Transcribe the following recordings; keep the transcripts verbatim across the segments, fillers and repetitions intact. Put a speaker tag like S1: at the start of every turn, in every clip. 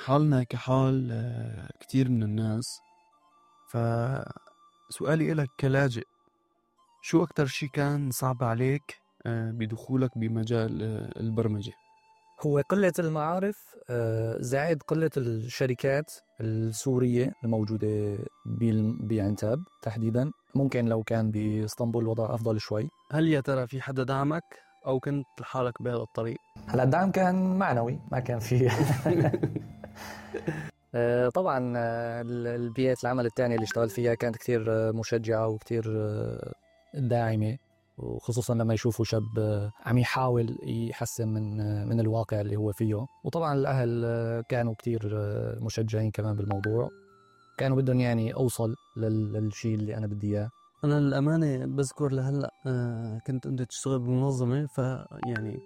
S1: حالنا كحال كتير من الناس. فسؤالي إلك كلاجئ، شو أكتر شي كان صعب عليك بدخولك بمجال البرمجة؟
S2: هو قلة المعارف زائد قلة الشركات السورية الموجودة بعنتاب تحديدا. ممكن لو كان بإسطنبول الوضع أفضل شوي.
S1: هل يا ترى في حدا دعمك أو كنت لحالك بهذا الطريق؟
S2: هلا الدعم كان معنوي، ما كان فيه طبعا البيئة العمل الثانية اللي اشتغل فيها كانت كتير مشجعة وكتير داعمة، وخصوصا لما يشوفوا شاب عم يحاول يحسن من من الواقع اللي هو فيه. وطبعا الأهل كانوا كتير مشجعين كمان بالموضوع، كانوا بدهم يعني أوصل للشيء اللي أنا بدي إياه.
S1: أنا الأمانة بذكر لهلأ كنت أنت تشتغل بمنظمة، فيعني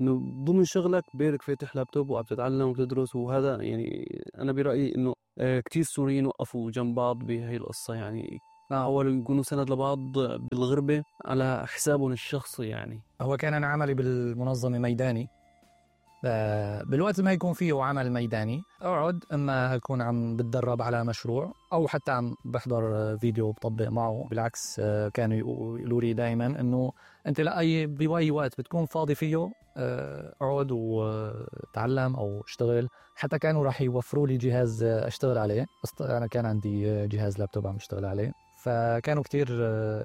S1: إنه ضمن شغلك بيرك فاتح لابتوب وعم تتعلم وتدرس، وهذا يعني أنا برأيي إنه كتير سوريين وقفوا جنب بعض بهاي القصة، يعني حاولوا يكونوا سند لبعض بالغربة على حسابهم الشخصي. يعني
S2: هو كان أنا عملي بالمنظمة ميداني، بالوقت ما يكون فيه عمل ميداني أقعد إما أكون عم بتدرب على مشروع أو حتى عم بحضر فيديو بطبق معه. بالعكس كانوا يقولوا لي دائما إنه أنت لأي بأي وقت بتكون فاضي فيه أقعد وتعلم أو اشتغل. حتى كانوا راح يوفروا لي جهاز أشتغل عليه، بس أنا كان عندي جهاز لابتوب عم اشتغل عليه، فكانوا كتير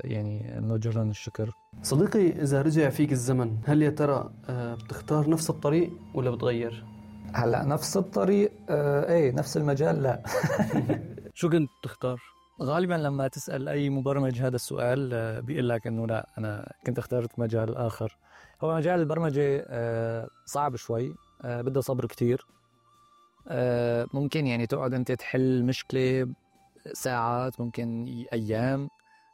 S2: يعني نوجه لهم الشكر.
S1: صديقي، إذا رجع فيك الزمن هل يا ترى بتختار نفس الطريق ولا بتغير؟
S2: هلأ نفس الطريق آه ايه نفس المجال لا
S1: شو كنت تختار؟
S2: غالبا لما تسأل أي مبرمج هذا السؤال آه بيقول لك إنه لا أنا كنت اخترت مجال آخر. هو مجال البرمجة آه صعب شوي، آه بده صبر كتير. آه ممكن يعني تقعد أنت تحل مشكلة ساعات، ممكن أيام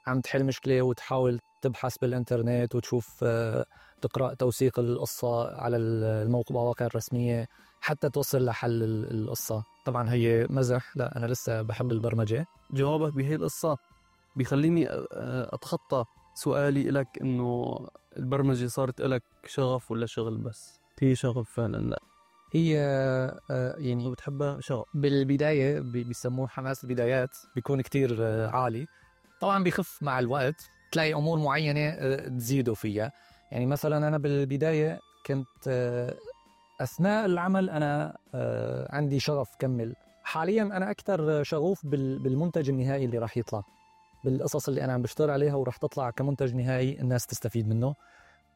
S2: عم تحل مشكلة وتحاول تبحث بالإنترنت وتشوف آه تقرأ توثيق القصة على المواقع الرسمية حتى توصل لحل القصة. طبعا هي مزح، لا أنا لسه بحب البرمجة.
S1: جوابك بهي القصة بيخليني أتخطى سؤالي لك إنه البرمجة صارت لك شغف ولا شغل بس؟ هي شغف فعلا؟ لا
S2: هي يعني
S1: بتحبها شغف.
S2: بالبداية بيسموه حماس البدايات، بيكون كتير عالي، طبعا بيخف مع الوقت، تلاقي أمور معينة تزيدوا فيها. يعني مثلا أنا بالبداية كنت أثناء العمل أنا عندي شغف كمل. حاليا أنا أكثر شغوف بالمنتج النهائي اللي راح يطلع، بالقصص اللي أنا عم بشتغل عليها وراح تطلع كمنتج نهائي الناس تستفيد منه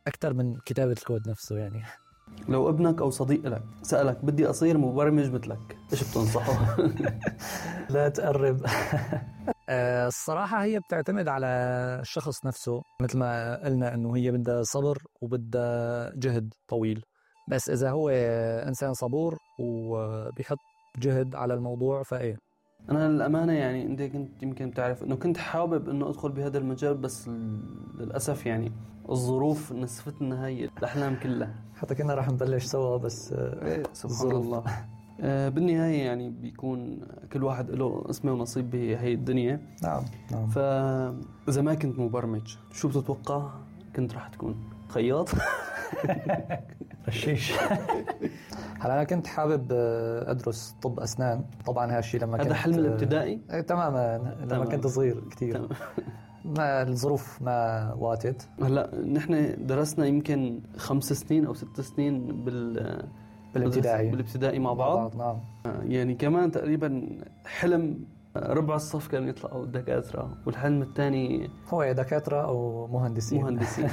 S2: أكثر من كتابة الكود نفسه. يعني
S1: لو ابنك أو صديق لك سألك بدي أصير مبرمج مثلك، إيش بتنصحه؟
S2: لا تقرب. الصراحة هي بتعتمد على الشخص نفسه، مثل ما قلنا إنه هي بدها صبر وبدها جهد طويل. بس إذا هو إنسان صبور وبيحط جهد على الموضوع فإيه.
S1: أنا الأمانة يعني أنت كنت يمكن بتعرف إنه كنت حابب إنه أدخل بهذا المجال، بس للأسف يعني الظروف نسفتنا هاي الأحلام كلها.
S2: حتى كنا راح نبلش سوا بس
S1: إيه سبحان الله. آه بالنهاية يعني بيكون كل واحد له اسمه ونصيب بهي الدنيا.
S2: نعم نعم.
S1: فإذا ما كنت مبرمج شو بتتوقع كنت راح تكون؟ خياط؟
S2: رشيش. هلا أنا كنت حابب أدرس طب أسنان، طبعا هالشي لما كنت
S1: هذا حلم الابتدائي؟
S2: اه تماما لما تمام. كنت صغير كتير ما الظروف ما واتت.
S1: هلا نحن درسنا يمكن خمس سنين أو ست سنين بال
S2: بالابتدائي
S1: بالابتدائي مع بعض.
S2: نعم.
S1: يعني كمان تقريبا حلم ربع الصف كانوا يطلعوا دكاترة، والحلم الثاني
S2: هو دكاترة أو مهندسين.
S1: مهندسين.